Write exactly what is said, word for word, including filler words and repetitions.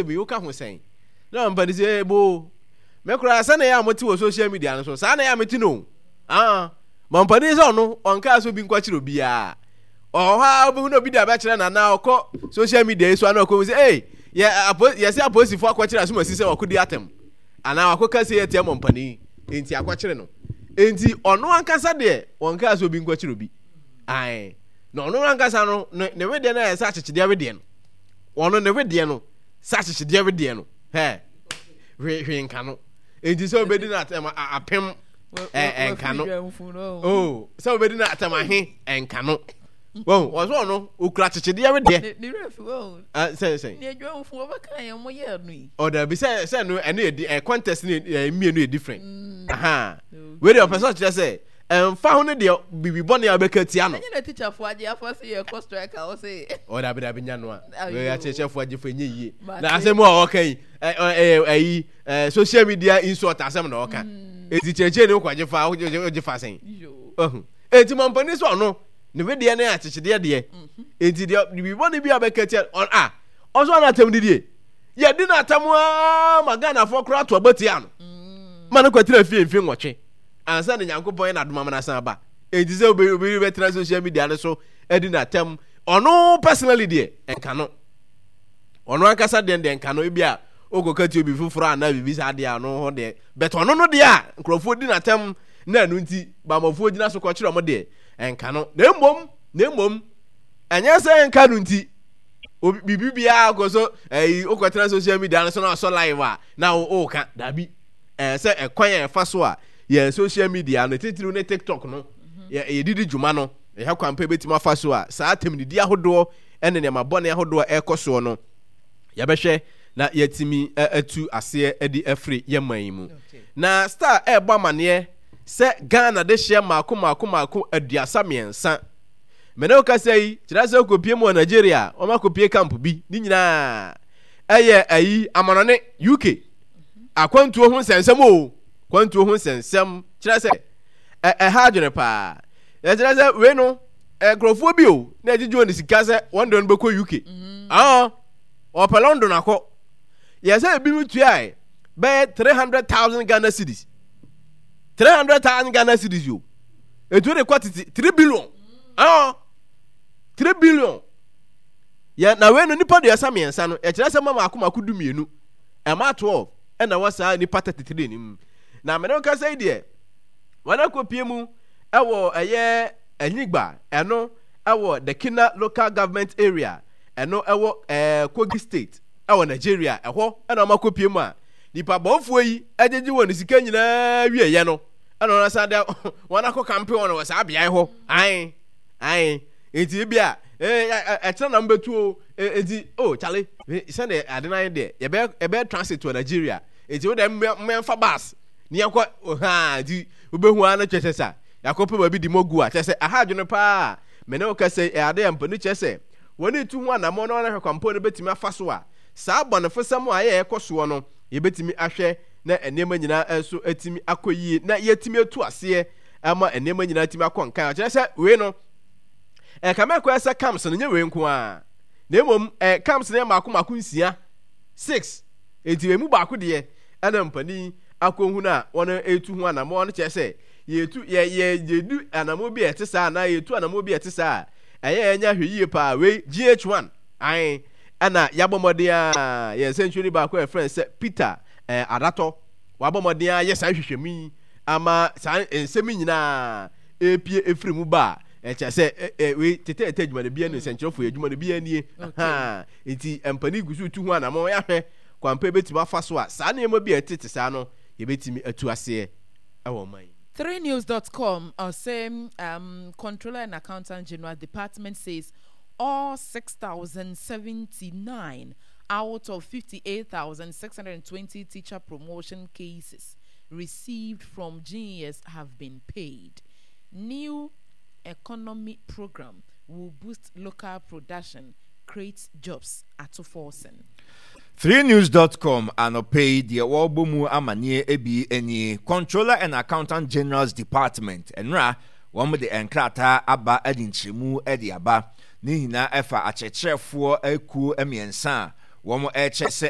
Bi woka ho sɛn na ɔmpa ne sɛ ebo me koraa sɛ na ɛyɛ a mote wɔ social media no so saa na ɛyɛ a mete no. Ah, mampanin sɛ ɔno ɔnkaa sɛ obi nkɔkyerɛ obiara. Ɔwɔ hɔ a wobɛhu na obi de abɛkyerɛ no anaa ɔkɔ social media yi so ana ɔkɔhu sɛ ei, yɛ apo yɛsɛ apolisifoɔ akɔkyerɛ asomasi sɛ wakɔdi atɛm anaa wakɔka sɛ yɛtia mampanin enti akɔkyere no. Enti ɔno ankasa deɛ ɔnkaa sɛ obi nkɔkyerɛ obi. Ae, na ɔno ankasa no ne ne wedeɛ no ayɛ sɛ akyekyedeɛ wedeɛ no. Ɔno ne wedeɛ no sɛ akyekyedeɛ wedeɛ no hɛ hwee hwee nka no. Enti sɛ obɛdi no atɛm apem ɛnka no. Oh, sɛ obɛdi no atɛm ahe ɛnka no. Wɔn wɔn so ɔno okura akyekyedeɛ wedeɛ. Ne werɛ fi wɔn. Sɛ sɛ. Ne adwamfo wɔbɛka yɛn mo yɛ no yi. Ɔda bi sɛ sɛ no ɛno yɛ di ɛ contest ne ɛ mmienu yɛ different. Aha. Wei deɛ ɔpɛ sɛ ɔkyerɛ sɛ ɛnfa ho ne deɛ bibi bɔne a ɔbɛka tia no. Ɛnyɛ na teacherfoɔ agye afa se yɛ kɔ strike a ɔse. Ɔdabi dabi nya no a. Wei akyerɛkyerɛfoɔ agye fo ɛnyɛ yie. Na asɛm a ɔka yi ɛ ɛ ɛyi ɛ social media insult asɛm na ɔka. Eti kyerɛkyerɛ ne kɔ agye fa ɔgye fa sɛn. Ɔho. Eti mampanin sɛ ɔno ne wedeɛ ne akyekyedeɛ deɛ. Eti deɛ bibi bɔne bi a ɔbɛka tia ɔn a ɔso ana atam didie. Yɛdi no atam aa ma Ghanafoɔ koraa to aba tia no. Ma no kɔtena fie mfe nwɔtwe. Ansa na Nyankopɔn yɛ n'adom ama no asan aba. Enti sɛ obi obi bɛtena social media no so adi n'atɛm, ɔno personally deɛ ɛnka no. Ɔno ankasa deɛ deɛ nka no, ebi a okɔka ti obi foforɔ anaa biribi saa deɛ ɔno hɔ deɛ. But ɔno no deɛ a nkurɔfoɔ di n'atɛm na ɛno nti bamɔfoɔ gyina so kɔkyerɛ ɔmo deɛ ɛnka no. Na mmom, na mmom ɛnyɛ sɛ ɛnka no nti obi biribi biara kɔ so ɛyi okɔtena social media no so na ɔsɔ live a na ɔɔka dabi. Ɛɛ sɛ ɛkwan a yɛfa so a yɛn social media no titiriw ne TikTok no yɛ yɛdidi dwuma no ɛyɛ kwan pa ebetumi afa so a saa atɛmdidi ahodoɔ ne nneɛma bɔne ahodoɔ a ɛrekɔ soɔ no yɛbɛhwɛ na yɛatumi atu aseɛ de afiri yɛn man yi mu. Na Star ɛrebɔ amaneɛ sɛ Ghana de hyeɛ mmaako mmaako mmaako aduasa mmiɛnsa. Mene wo kasa yi kyerɛ sɛ wokɔpie mu wɔ Nigeria wɔn akɔpie camp bi ne nyinaa ɛyɛ ayi amanɔne U K akwantuo ho nsɛnsɛm o, kwantuo ho nsɛnsɛm kyerɛ sɛ ɛha adwene paa. Ɛkyerɛ sɛ wei no nkurɔfoɔ bi o na ɛgyegye wɔn sika sɛ wɔn deɛ no bɛkɔ U K. mm. ah ɔpɛ London akɔ. Yɛ sɛ ebi mu tuae bɛyɛ three hundred thousand Ghana cedis, three hundred thousand Ghana cedis yo, etu de kɔ tete three billion. ah three billion yɛ. Na wei no nipa duasa mmiɛnsa no ɛkyerɛ sɛ mma mako mako du mmienu, ɛma twelve ɛna wɔ saa nipa thirty three no mu. Na mene kasa yi deɛ wɔn akɔpie mu ɛwɔ ɛyɛ Anyigba, ɛno ɛwɔ Dekina Local Government Area, ɛno ɛwɔ ɛɛ Kogi State ɛwɔ Nigeria. Ɛhɔ ɛna wɔn akɔpie mu a nipa bɔnfoɔ yi ɛgyegye wɔn sika nyinaa wieɛ no ɛna wɔn asan de wɔn akɔ kampe wɔn wɔ saa beaeɛ hɔ. Ae ae, nti ebi a ɛɛ ɛkyerɛ na mbɛtu o. Nti o kyale sɛdeɛ ade no ayɛ deɛ yɛbɛ yɛbɛ transit wɔ Nigeria, nti wo deɛ mmɛnfa bus ne yɛnkɔ haa. Nti wobɛhu ara no kyerɛ sɛ sa yɛakɔpɛ baabi di mɔgu a kyerɛ sɛ aha adwene paa. Me ne wo kasa yi ɛyɛ ade a mpani kyerɛ sɛ wɔn etu ho anammɔn na wɔn ahwɛ kwampɔn no bɛtumi afa so a saa bɔnefosɛm a ɛyɛ ɛkɔ soɔ no yɛbɛtumi ahwɛ na nneɛma nyinaa nso atumi akɔ yie na yɛatumi atu aseɛ ama nneɛma nyinaa atumi akɔ nkan. Ɔkyerɛ sɛ wei no ɛka mɛkɔ sɛ camps no nyɛ wei nko ara na mmom ɛ camps no yɛ mako mako nsia, six. Enti emu baako deɛ ɛna mpanin akɔhunu a wɔn etu ho anammɔn no kyerɛ sɛ yɛtu yɛ yɛ yɛdu anammɔn bi a ɛte saa anaa yɛtu anammɔn bi a ɛte saa a ɛyɛ yɛnya hwɛ yie paa. Wei G H one ae ɛna yɛabɔ mmɔden a yɛn nsɛntwerɛni baako a yɛfrɛ no sɛ Peter ɛɛ Adatɔ wabɔ mmɔden a yɛ saa nhwehwɛmu yi ama saa nsɛm yi nyinaa epie efiri mu ba a ɛkyɛ sɛ ɛ wei tetɛɛtɛ adwuma no bi ne nsɛnkyerɛfoɔ yɛ adwuma no bi nie. Nti mpanin gu so tu ho anammɔn yɛahwɛ kwampa ebɛtumi afa so a saa nneɛma bi a ɛtete saa no yɛbɛtumi atu aseɛ ɛwɔ ɔman yi. three news dot com uh, say um, Controller and Accountant General Department says all six thousand seventy-nine out of fifty-eight thousand six hundred twenty teacher promotion cases received from G E S have been paid. New economy program will boost local production, create jobs, Ato Forson. three news dot com anɔpɛ yi deɛ wɔrebɔ mu amanneɛ bi nie. Controller and Accountant General's Department nnora wɔn de nkrataa aba de nkyerɛmu de aba ne nyinaa ɛfa akyerɛkyerɛfoɔ akuo mmiɛnsa a Wɔn ɛkyɛ sɛ